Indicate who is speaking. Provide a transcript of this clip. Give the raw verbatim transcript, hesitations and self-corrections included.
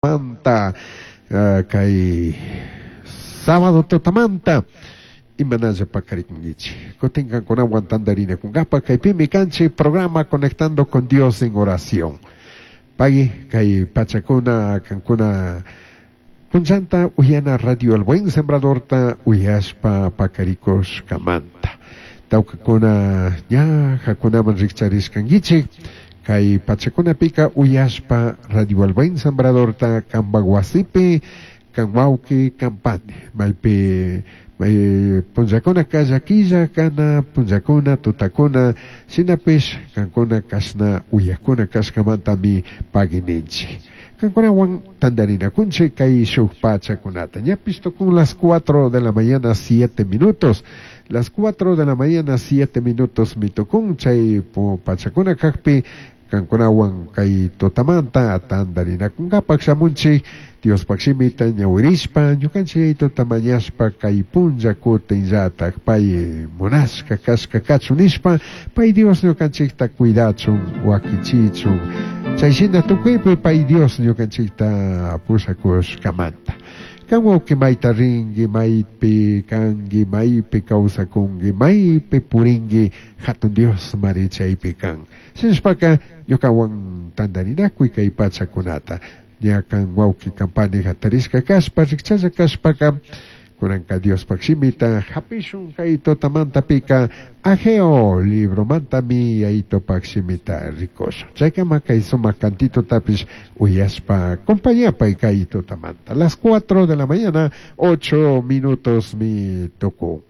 Speaker 1: Manta uh, kay sábado tutamanta imanalla paqarikunkichik kutin kankunawan tantarinakunkapa kaypimi kanchik programa Conectando con Dios en Oración. Pagui kay pachakuna kankuna punllanta uyana Radio El Buen Sembradorta uyashpa paqarikushkamanta. Tawkakuna ña hakunaman rikcharishkankichik kay pachakunapika uyashpa Radio El Buen Sembradorta kanpak wasipi kan wawqi kan pani maypi may punllakuna llaquilla kana punllakuna tutakuna shinapish kankuna kashna uyakuna kashkamantami pagui ninchik kankunawan tantarinakunchik kay shuk pachakunata. Ñapish tukun las cuatro de la mañana siete minutos, las cuatro de la mañana siete minutos mitukun. Chay pachakuna kakpi kankunawan kay tutamanta tantarinakunkapak shamunchik Diospaq shimita ñawirishpa ñukanchik tutamañashpa kay punlla kutinllatak pay munashka kashka kachun nishpa pay Dios ñukanchikta cuidachun, wakichichun. Chay shina tukuypi pay Dios ñukanchikta pushakushkamanta. Kan wawqi mayta rinki, maypi kanki, maypi kawsakunki, maypi purinki, hatun Dios mari chaypi kan. Shinashpaka ñukawan tantarinakuy kay pachakunata. Ña kan wawqi kan pani hatarishka kashpa rikchalla kashpaka kunanka Diospaq shimita hapishun kay tutamantapika Ageo libromantami Yayitopak shimita rikushun. Chaykama kay sumak cantitotapish uyashpa compañapay kay tutamanta. Las cuatro de la mañana, ocho minutos mi tukun.